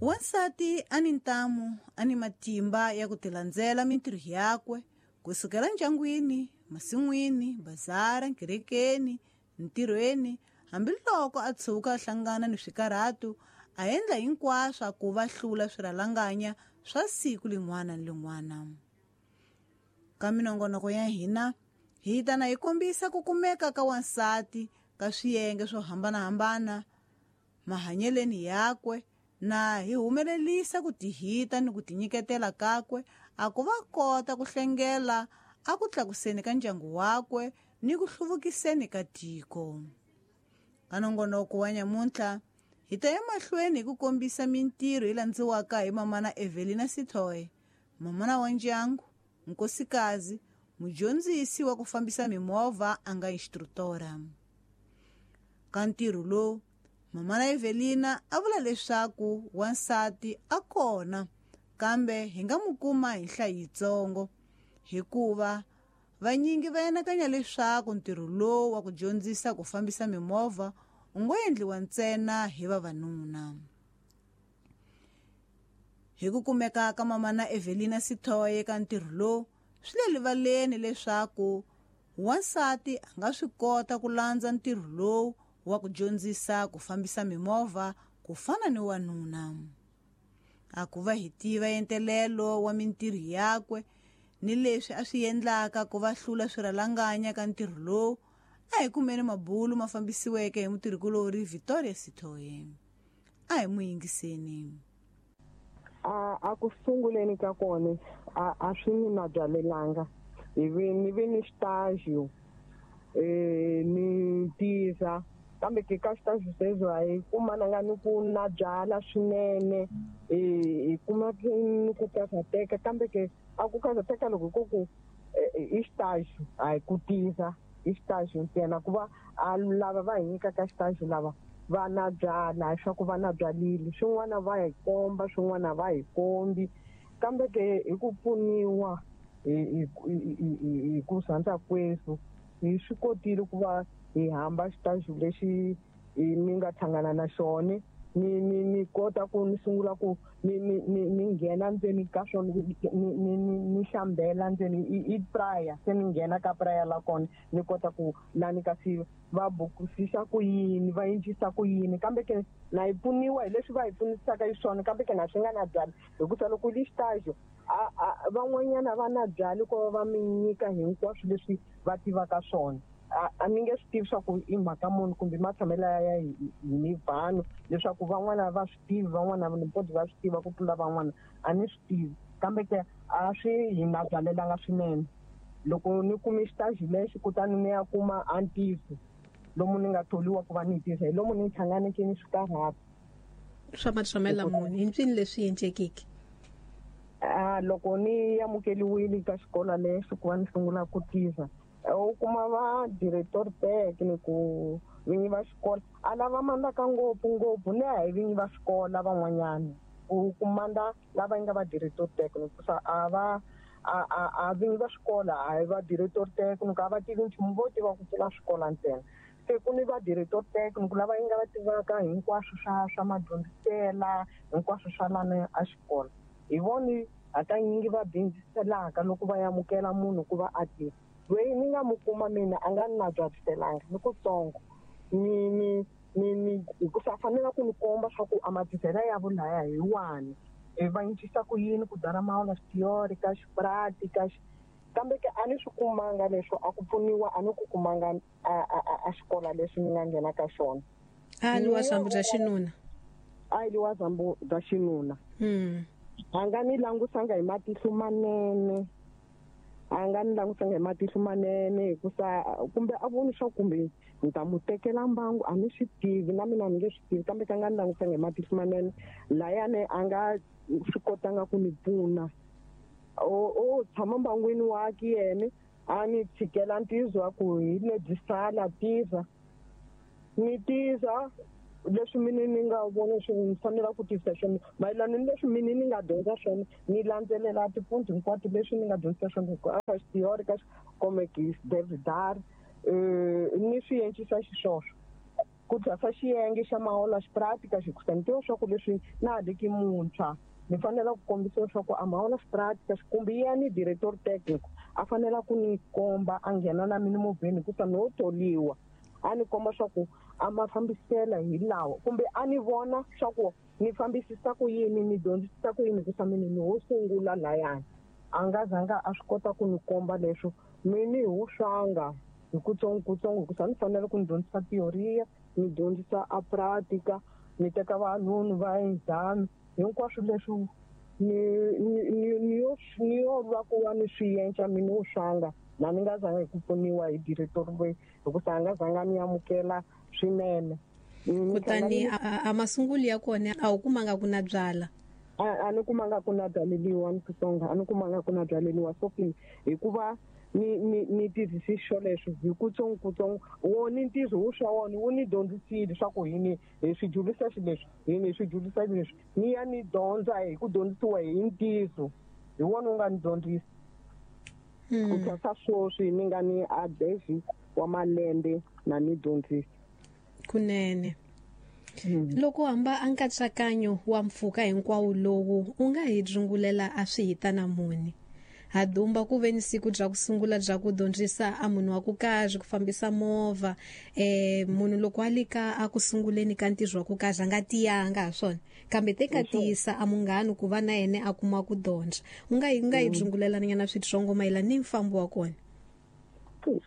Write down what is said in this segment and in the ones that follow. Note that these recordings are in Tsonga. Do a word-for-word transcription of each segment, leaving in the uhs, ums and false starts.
Wansati a ni ntamu a ni matimba ya ku tilandzela mintirho yakwe kusukela ndyangwini, masin'wini, bazara, kerekeni, ntirhweni, hambiloko a tshuka a hlangana ni swikarhatu a endla hinkwaswo ku va hlula swirhalanganya swa siku lin'wana ni lin'wana. Ka minongonoko ya hina hi ta na hi kombisa ku kumeka ka wansati ka swiyenge swo hambanahambana mahanyeleni yakwe na hi humelelisa ku tihita ni ku tinyiketela kakwe a ku va kota ku hlengela a ku tlakuseni ka ndyangu wakwe ni ku hluvukiseni ka tiko. Ka nongonoko wa nyamuntlha hi ta ya mahlweni hi ku kombisa mintirho yi landziwaka hi mamana Evelina Sithoe, mamana wa ndyangu, nkosikazi, mudyondzisi wa ku fambisa mimovha a nga instructora. Ka ntirho lowu mamana Evelina a vula leswaku wansati a kona kambe hi nga mu kuma hi nhlayo yitsongo hikuva vanyingi va anakanya leswaku ntirho lowu wa ku dyondzisa ku fambisa mimovha u ngo endliwa ntsena hi vavanuna. Hi ku kumeka ka mamana Evelina Sithoe ka ntirho lowu swi le rivaleni leswaku wansati a nga swi kota ku landza ntirho lowu wa ku dyondzisa ku fambisa mimovha ku fana ni wanuna. A ku va hi tiva entelelo wa mintirho yakwe ni leswi a swi endlaka ku va hlula swirhalanganya ka ntirho lowu, a hi kumeni mabulu ma fambisiweke hi mutirhikulori Victoria Sithoe. A hi mu yingiseni. A a ku sunguleni ka kona a a swi ni mabyalelanga hi vi ni vi ni xitaxo eh ni tiza kambe ke ka xitaxo sweswo a hi kumananga ni ku na byala swinene eh hi kuma ni ku karhateka kambe ke a ku karhateka loko ko ku i xitaxo a hi ku tiza i xitaxo ntsena ku va a lava va hi nyikaka xitaxo lava va na byala swa ku va na byalile swin'wana va hi komba swin'wana va hi kombi kambe ke hi ku pfuniwa hi hi ku sandza kwesu hi swi kotile ku va hi hamba xitaxo lexi ni nga hlangana na xona ni ni ni kota ku ni sungula ku ni ni ni ni nghena ndzeni ka swona ni ni ni hlambela ndzeni i prayer se ni nghena ka prayer la kona ni kota ku lani kasi va bukusisa ku yini va endlisa ku yini kambe ke na yi pfuniwa hi leswi va hi pfunisaka hi swona kambe ke na swi nga na byali hikusa loko li xitaxo a van'wanyana va na byali ko va va mi nyika hinkwaswo leswi va tivaka swona. A ni nge swi tivi swa ku i mhaka munhu kumbe matshamelo ya hi ni vanhu leswaku van'wana va swi tivi van'wana ni poti va swi tiva ku tlula van'wana a ni swi tivi kambe ke a swi hi na byalelanga swinene. Loko ni kume xitaxi lexi kutani ni ya kuma antiso lomu ni nga tholiwa ku va ni tisa hi lomu ni hlanganeke ni swikarhata swa matshamela munhu hi mpfini leswi endlekeke. A loko ni amukeliwile ka xikolo lexi ku va ni sungula ku tisa u kuma va director técnico vinyi va xikolo a lava mandaka ngopfu ngopfu ni a hi vinyi va xikolo van'wanyana u kumanda lava nga va director técnico sa a va a a a vinyi va xikolo a hi va director técnico a va tivi nchumu vo tiva ku pfula swikolo ntsena se ku ni va director técnico lava nga va tivaka hinkwaswo swa swa madyondzisela hinkwaswo swa lana a xikolo hi voni hakanyingi va bindziselaka loko va amukela munhu ku va a tiva loyi ni nga mu kuma mina a nga ni na byaliselanga ni kutsongo ni ni ni ni hikusa fanele ku ni komba swa ku a matisela ya vulaya hi wani va cincisa ku yini ku dara mawula xitiyori ka xiprati ka kambe ke a ni swi kumanga leswo a ku pfuniwa a ni ku kumanga a a xikolo lexi ni nga nghena ka xona. A li wa zambu bya xinuna a li wa zambu bya xinuna mm a nga ni langusanga hi matihlo manene a nga ni langusanga hi matihlo manene hikusa kumbe a voni swa kumbe ni ta mu tekela mbangu a ni swi tivi na mina ni nge swi tivi kambe ka nga ni langusanga hi matihlo manene layani a nga swi kotanga ku ni pfuna o o tshama mbangwini waki yena a ni tshikela ntizo wa ku hi lebyi sala tiza ni tiza leswi mina ni nga vona swi ni fanela ku tisa swona mayelana ni leswi mina ni nga dyondza swona ni landzelela tipoint hinkwato leswi ni nga dyondzisa swona ku a ka xitiyori ka komekis davidar ni swi encisa xiswoswo. Ku thwasa xiyenge xa maola xiprática xikusa ni tiva swa ku leswi na ha liki muntshwa ni fanele ku kombisa leswaku a maola xiprática kumbe yena director técnico a fanele ku ni komba a nghena na mina movheni hikusa no tholiwa a ni komba swa ku a ma fambisela hi lawa kumbe a ni vona swa ku ni fambisisa ku yini ni dyondzisisa ku yini hikusa mina ni ho sungula layani a nga zanga a swi kota ku ni komba leswo mina hi wu swanga hi kutsongokutsongo hikusa ni fanele ku ni dyondzisa teoria ni dyondzisa a pratica ni teka vanhu va exam hinkwaswo leswi ni ni ni yo ni yo lwa ku va ni swi yenca mina wu swanga na ni nga zanga hi ku pfuniwa hi director loyi hikusa a nga zanga ni amukela swinene. Kutani a masungulo ya kona a wu kumanga ku na byala? A ni kumanga ku na byaleliwa ni Xitsonga a ni kumanga ku na byaleliwa Sophie hikuva ni ni ni tirhisi xoleswo hi kutsongokutsongo wona ntirho wu swa wona wu ni dyondzisile swa ku hi ni hi swi dyondzisa xileswi hi ni swi dyondzisa leswi ni ya ni dyondza hi ku dyondzisiwa hi ntiyiso hi wona wu nga ni dyondzisa ku thwasa sweswi ni nga ni adezi wa malembe na ni dyondzisa. Kunene. Loko hamba a nkatsakanyo wa mpfhuka hinkwawo lowu u nga hi dzungulela a swi hita na muni ha dumba ku ve ni siku bya ku sungula bya ku dyondzisa a munhu wa ku kahle ku fambisa movha eh munhu loko a lika a ku sunguleni ka ntirho wa ku kahle a nga tiyanga ha swona kambe te ka tiyisa a munghana ku va na yena a kuma ku dyondza u nga yi nga yi dzungulela nyana switsongo mayelana ni mfambo wa kona?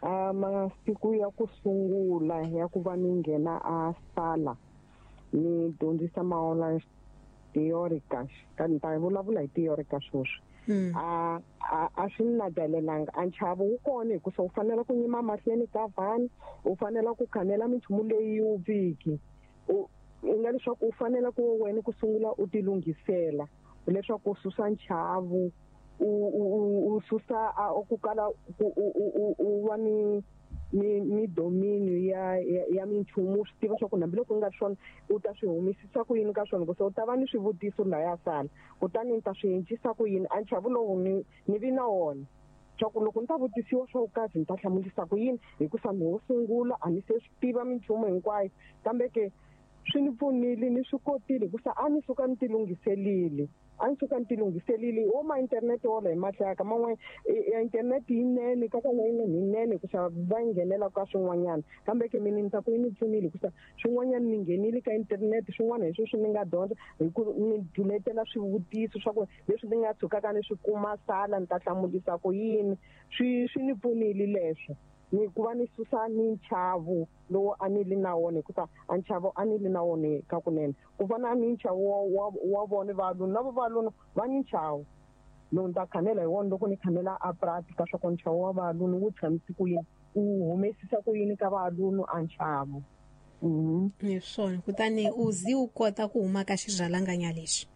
A masiku ya ku sungula ya ku va ni nghena a sala ni dyondzisa maola teórica ka ni ta vulavula hi teórica sweswi a a swi na byalelanga a nchavo wu kona hikusa u fanele ku nyima mahlweni ka vanhu u fanele ku khanela minchumu leyi wu viki u nga leswaku u fanele ku wena ku sungula u tilunghisela leswaku u susa nchavo u u susa ku kala u va ni ni ni dominio ya ya minchumu swi tiva swa ku hambiloko u nga swona u ta swi humisisa ku yini ka swona ku se u ta va ni swivutiso laya sala kutani ni ta swi encisa ku yini a nchavo lowu ni ni vi na wona swa ku loko ni ta vutisiwa swa ku kazi ni ta hlamulisa ku yini hikusa ni wo sungula a ni se swi tiva minchumu hinkwayo kambe ke swi ni pfunile ni swi kotile hikusa a ni suka ni tilunghiselile a ni suka ni tilunghiselile wo ma internet wola hi mahlaka man'we ya internet yinene ka ka yinene yinene hikusa va nghenela ka swin'wanyana kambe ke mina ni ta ku yi ni pfunile hikusa swin'wanyana ni nghenile ka internet swin'wana hi sweswi ni nga dyondza hi ku ni duletela swivutiso swa ku leswi ni nga tshukaka ni swi kuma sala ni ta hlamulisa ku yini swi swi ni pfunile leswo ni ku va ni susa ni nchavo lowu a ni li na wona hikusa a nchavo a ni li na wona ka kunene ku fana ni nchavo wa wa vona valuna na valuna va ni nchavo lowu ni ta khanela hi wona loko ni khanela a pratica swa ku nchavo wa valuna wu tshamisi ku yini u humesisa ku yini ka valuna a nchavo. Hi swona kutani u zi u kota ku huma ka xirhalanganya lexi?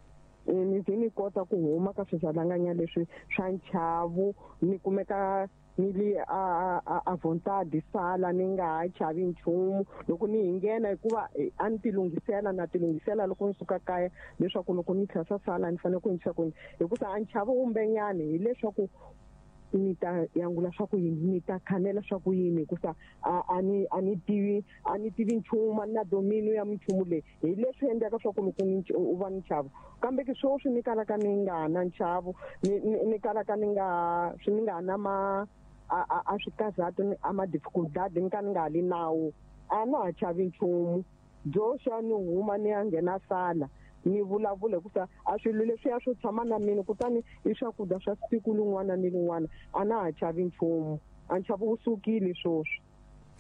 Ni zi ni kota ku huma ka swirhalanganya leswi swa nchavo ni kumeka ni li a a a vontade sala ni nga ha chavi nchumu loko ni nghena hikuva a ni tilunghisela na tilunghisela loko ni suka kaya leswaku loko ni tlhasa sala ni fanele ku yinisa ku hikusa a nchavo wumbenyani hileswaku ni ta yangula swa ku yini ni ta khanela swa ku yini hikusa a ni a ni tivi a ni tivi nchumu a ni na domino ya minchumu leyi hi leswi endlaka swa ku loko u va ni nchavo kambe ke sweswi ni kalaka ni nga na nchavo ni ni kalaka ni nga swi ni nga na ma a a a swikazati a ma dificultad ni ka ni nga li nawu a na ha chavi nchumu byo xa ni huma ni ya nghena sala ni vulavula hikusa a swilo leswiya swo tshama na mina kutani i swakudya swa siku lin'wana ni lin'wana a na ha chavi nchumu a nchavo wu sukile sweswi.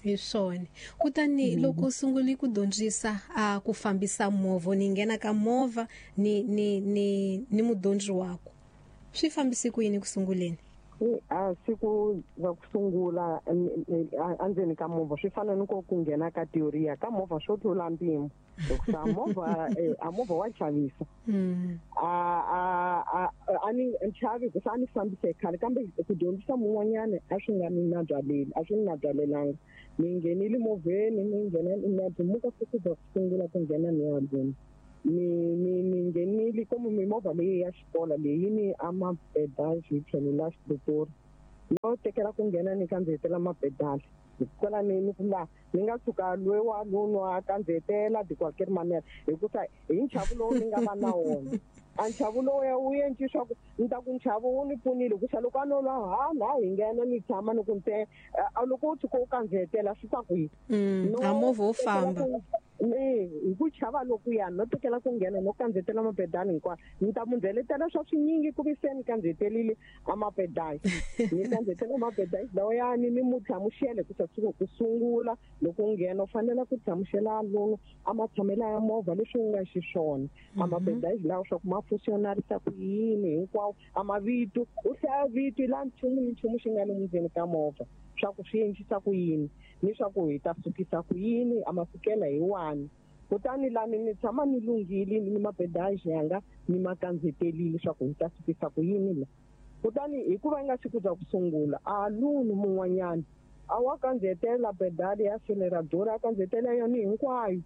Hi swona kutani loko u sungule ku dyondzisa a ku fambisa movha ni nghena ka movha ni ni ni ni mudyondzi wako swi fambise ku yini ku sunguleni? A siku ra ku sungula endzeni ka movha swi fana ni ku ku nghena ka teoria ka movha swo tlula mpimo hikusa movha a movha wa chavisa a a a ni chavi hikusa a ni fambise khale kambe ku dyondzisa mun'wanyana a swi nga ni na byaleli a swi ni na byalelanga ni nghenile movheni ni nghena na dimuka siku ra ku sungula ku nghena ni ya dyondza ni ni ni nghenile komu mimovha leyi ya xikolo leyi ni a mapedali hi tlhelo la xipitori no tekela ku nghena ni kandzihetela mapedali Kwala ni ni ku la ni nga tshuka loyi wa lono a kandziyetela de qualquer manière hikusa hi nchavo lowu ni nga va na wona. A nchavo lowu ya wu endli swa ku ni ta ku nchavo wu ni pfunile hikusa loko a no lwa ha la hi nghena ni tshama ni ku nte a loko u tshuka u kandziyetela swi ta kwihi? A movha wo famba. Hi ku chava lokuya no tekela ku nghena no kandziyetela mapedali hinkwayo ni ta mundzeletela swa swinyingi ku vi se ni kandziyetelile a mapedali ni kandziyetela mapedali lawayani ni mu hlamusele ku siku ku sungula loko u nghena u fanele ku hlamusela lomu a matshamelo ya movha leswi u nga xiswona a mapedali lawa swa ku ma functionarisa ku yini hinkwawo a mavito u hlaya vito la nchumu ni nchumu xi nga le ndzeni ka movha swa ku swi endlisa ku yini ni swa ku hi ta sukisa ku yini a masukela hi wani. Kutani lani ni tshama ni lunghile ni mapedaji yanga ni ma kandzetelile swa ku hi ta sukisa ku yini la. Kutani hikuva yi nga siku bya ku sungula a luni mun'wanyana a wa kandzetela pedali ya acelerador a kandzetela yona hinkwayo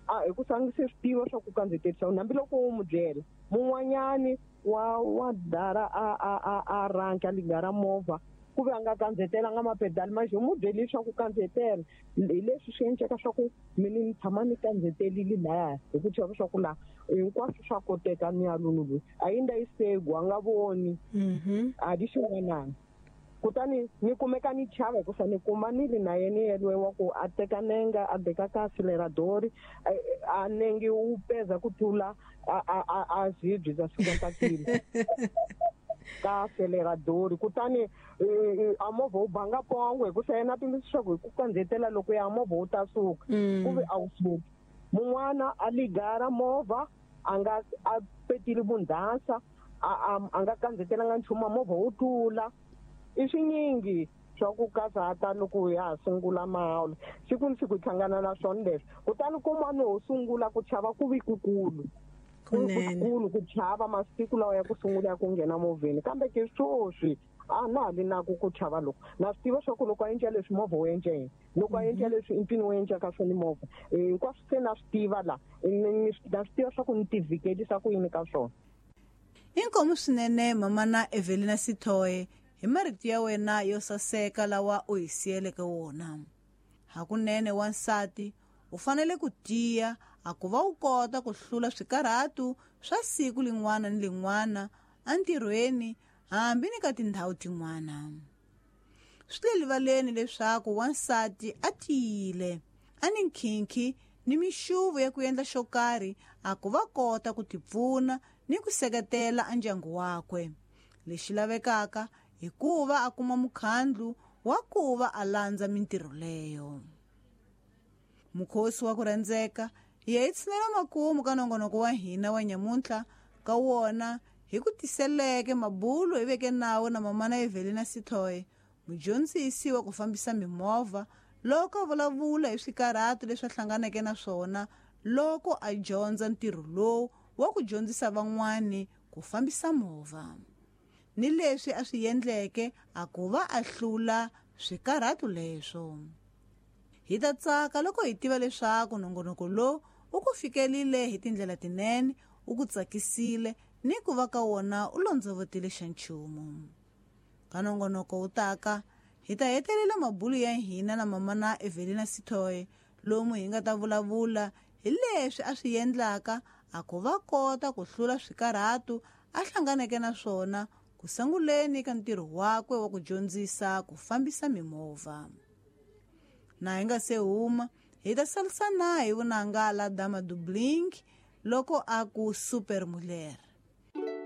a hi ku sangise swi tiva swa ku kandzetelisa hambiloko u mu byela mun'wanyani wa wa dara a a a a ranka ligara movha ku ve a nga kandzetela nga mapedali ma xi mu byeli swa ku kandzetela hi leswi swi endleka swa ku mina ni tshama ni kandzetelile laya hi ku chava swa ku la hinkwaswo swa koteka ni ya lunu loyi a yi nda yi segu a nga voni a di xin'wanana. Kutani ni kumeka ni chava hikusa ni kuma ni ri na yena yelwe wa ku a teka nenga a beka ka acelerador a nenge wu peza ku tlula a a a zibyi bya cinquanta kilo ka acelerador. Kutani a movha wu banga pongo hikusa yena a pimisisa swa ku hi ku kandzetela loko ya movha wu ta suka ku vi a wu suki. Mun'wana a ligara movha a nga a petile vundhasa a a nga kandzetelanga nchumu a movha wu tlula. I swinyingi swa ku kazata loko ya ha sungula mahawula siku ni siku hi hlangana na swona leswi. Kutani kun'wana ho sungula ku chava ku vi kukulu kukulu ku chava masiku lawa ya ku sungula ya ku nghena movheni kambe ke sweswi a na ha vi na ku ku chava loko na swi tiva swa ku loko a endla leswi movha wu endla yini loko a endla leswi i mpfini wu endla ka swona movha hinkwaswo se na swi tiva la na swi tiva swa ku ni tivhikelisa ku yini ka swona. Inkomu swinene mamana Evelina Sithoe hi marito ya wena yo saseka lawa u hi siyeleke wona. Hakunene wansati u fanele ku tiya a ku va u kota ku hlula swikarhatu swa siku lin'wana ni lin'wana entirhweni hambi ni ka tindhawu tin'wana. Swi le rivaleni leswaku wansati a tiyile a ni nkhinkhi ni mixuvo ya ku endla xo karhi a ku va kota ku tipfuna ni ku seketela ndyangu wakwe. Lexi lavekaka hikuva a kuma mukhandlu wa ku va a landza mintirho leyo. Mukhosi wa ku rhandzeka hi ya hi tshinela makumu ka nongonoko wa hina wa nyamuntlha ka wona hi ku tiseleke mabulo hi veke nawo na mamana Evelina Sithoe mudyondzisi wa ku fambisa mimovha loko a vulavula hi swikarhatu leswi a hlanganeke na swona loko a dyondza ntirho lowu wa ku dyondzisa van'wani ku fambisa movha ni leswi a swi endleke a ku va a hlula swikarhatu leswo. Hi ta tsaka loko hi tiva leswaku nongonoko lowu u ku fikelile hi tindlela tinene u ku tsakisile ni ku va ka wona u londzovotile xa nchumu. Ka nongonoko wu taka hi ta hetelela mabulo ya hina na mamana Evelina Sithoe lomu hi nga ta vulavula hi leswi a swi endlaka a ku va kota ku hlula swikarhatu a hlanganeke na swona ku sunguleni ka ntirho wakwe wa ku dyondzisa ku fambisa mimovha. Na hi nga se huma hi ta salisana hi vunanga la Dama Dubling loko a ku Super Muller.